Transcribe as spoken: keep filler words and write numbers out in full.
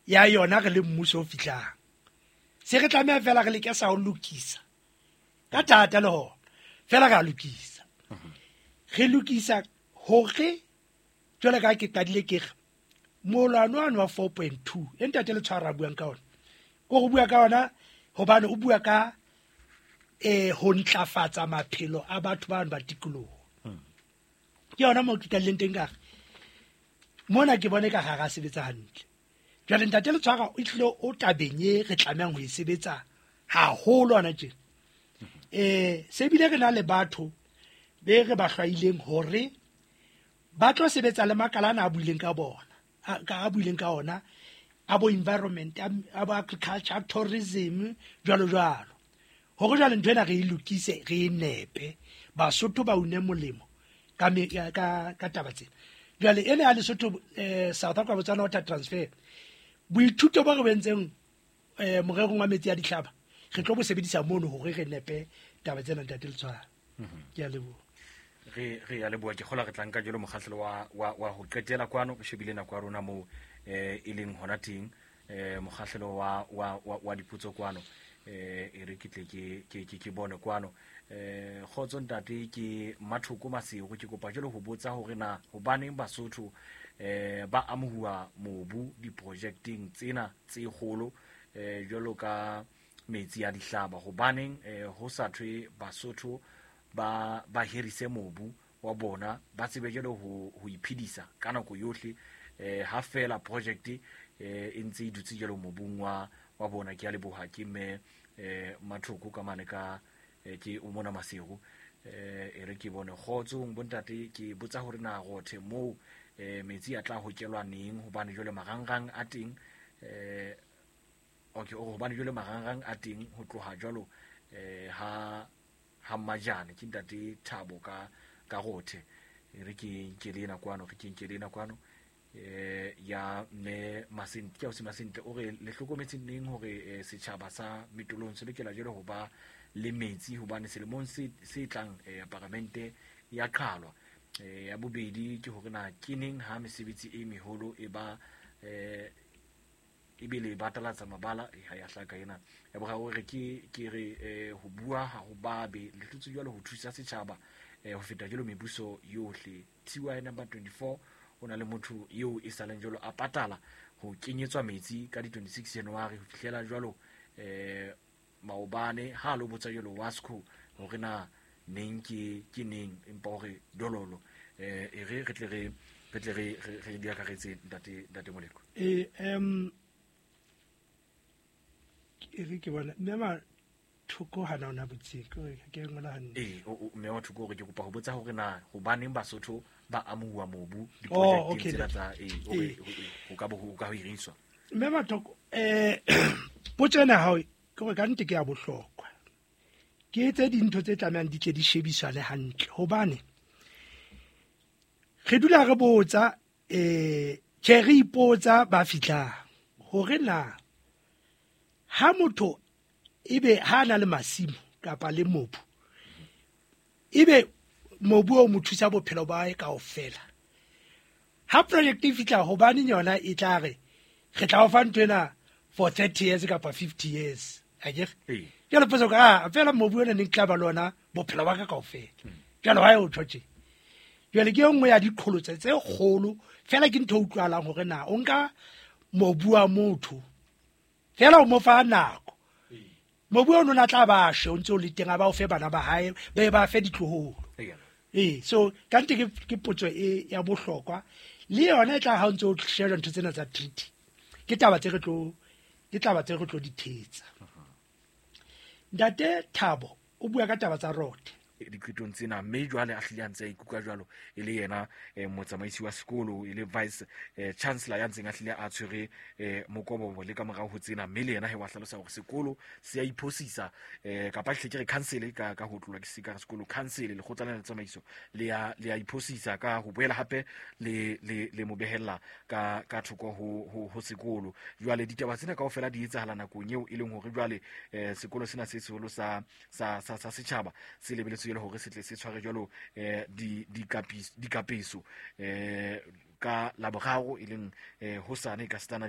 ya yona re le mmuso o fihlang. Se re tlameha fela re leke sa ho lokisa ka thata le hona fela re a lokisa. Re lokisa hore jwale ka ke qadile ke re molwano wa wa four point two e ntate Letshwara a buang ka ona, ko go bua ka ona hobane o bua ka eh ho ntlafatsa maphelo a batho ba ba tikoloho. Ke yona mo ke qadileng teng ka re mona ke bone ka ga ga sebetsa hantle. Jwale ntate Letshwara o tlile o tabeng e re tlamehang ho e sebetsa haholo hona tjena. Eh se bile re na le batho be re ba hlwaileng hore ba tlo sebetsa le makala ana a buileng ka bona, ka a buileng ka ona, a bo environment, a bo agriculture, tourism, jwalo jwalo. Hore jwale ntho ena re e lokise, re e nepe, Basotho ba une molemo ka me, ka, ka taba tsena. Jwale ena ya Lesotho, eh, South Africa Botswana water transfer, boithuto bo re bo entseng, eh, morerong wa metsi a dihlaba, re tlo bo sebedisa mono hore re nepe taba tsena ntate Letshwara. Ke a leboha. Re re a leboha, ke kgola re tla nka jalo mokgahlelo wa, wa, wa ho qetela kwano, re shebile nako ya rona moo, eh, e leng hona teng, eh, mokgahlelo wa, wa, wa, wa dipotso kwano, eh, e re ke tle ke, ke, ke, ke bone kwano. Eh, kgotso ntate, ke Mathoko Masego, ke kopa jalo ho botsa hore na hobaneng Basotho, eh, ba amohuwa mobu diprojekteng tsena tse kgolo, eh, jwalo ka metsi a dihlaba, hobaneng, eh, ho sa thwe Basotho ba, ba hirise mobu wa bona, ba tsebe jalo ho, ho iphedisa ka nako yohle, eh, ha fela project, eh, e ntse e dutse jalo mobung wa, wa bona. Ke a leboha, ke mme, eh, Mathoko ka mane ka, eh, ke o mona Masego. Eh, e re ke bone kgotsong bontate, ke botsa hore na rothe moo, eh, metsi a tla hokelwa neng, hobane jwale marangrang a teng, eh, okay, o hobane jwale marangrang a teng ho tloha jwalo, eh, ha, ha Mmajane. Ke ntate Thabo ka, ka rothe. E re ke nke le ena kwano, re ke nke le ena kwano, eh, ya mme Masente, ke ausi Masente, o re le hlokometse neng hore, eh, setjhaba sa Metolong se lokela jwale ho ba le metsi, hobane selemong se, se tlang, eh, paramente ya qhalwa. Eh, ya bobedi ke hore na ke neng ha mesebetsi e meholo e ba, eh, ebe le batalatsa mabala, e ha ya hlaka ena. Ya boraro re ke, ke re, eh, ho bua ha ho babe, le hlotse jwalo ho thusa setjhaba, eh, ho feta jwalo mebuso yohle. T Y number twenty-four, o na le motho eo e saleng jwalo a patala ho kenyetswa metsi ka di twenty-six January ho fihlela jwalo, eh, maobane, ha lo botsa jwalo Wasco hore na neng ke, ke neng, empa hore dololo, eh, e re re tle re, re tle re, re, re di akaretse ntate, ntate Moleko. Eh, em, e re ke bona mme Mathoko hana ona botseng, ke hore ke ngola hantle. Eh, o, o, mme Mathoko hore ke kopa ho botsa hore na hobaneng Basotho ba amohuwa mobu Oh, diprojekteng okay, tsena ntate. tsa, eh, hore, Eh. ho, ho ka bo, ho ka ho hiriswa. Mme Mathoko, eh, potso ena ya hao ke hore ka nnete ke ya bohlokwa. Ke tse dintho tse tlamehang di tle di shebisane hantle, hobane re dula re botsa, eh, tjhe re ipotsa ba fihlang hore na ha motho ebe ha na le masimo kapa le mobu, ebe mobu o mo thusa bophelo ba hae kaofela. Ha project e fihla, hobane yona e tla re re tla o fa ntho ena for thirty years kapa fifty years, akere? Ee. Jwale potso ka, ah, fela mobu ona ne ke tla ba le ona bophelo ba ka kaofela. Jwale wa o tjho tje. Jwale ke e nngwe ya diqholotso tse kgolo, fela ke ntho e utlwahalang hore na o nka mobu wa motho fela o mo fa nako. Mobu ono na tla ba shwe o ntse o le teng, a ba o fe bana ba hae, ba be ba fe ditloholo. Ee. Ee, so ka nnete ke, ke potso e ya bohlokwa, le yona e tla ha o ntse o sheba ntho tsena tsa treaty. Ke taba tse re tlo, ke taba tse re tlo di thetsa. Ntate Thabo o bua ka taba tsa rote. Diqetong tsena, mme jwale a hlile a ntse a ikutlwa jwalo e le yena, eh, motsamaisi wa sekolo, e le vice, eh, chancellor ya ntseng a hlile a tshwere, eh, mokobobo le ka morao ho tsena, mme le yena he wa hlalosa hore sekolo se a iphosisa, eh, kapa hle ke re council ka, ka ho tlolwa ke se ka re sekolo, council, lekgotla lena la tsamaiso le ya, le ya iphosisa ka ho boela hape le, le, le mo behella ka, ka thoko ho, ho, ho sekolo. Jwale ditaba tsena kaofela di etsahala nakong eo e leng hore jwale, eh, sekolo sena se seholo sa, sa, sa, sa setjhaba se lebeletswe jwale hore se tle se tshware jwalo, eh, di, di kapis-, dikapeso, eh, ka Laboraro e leng, eh, hosane ka setana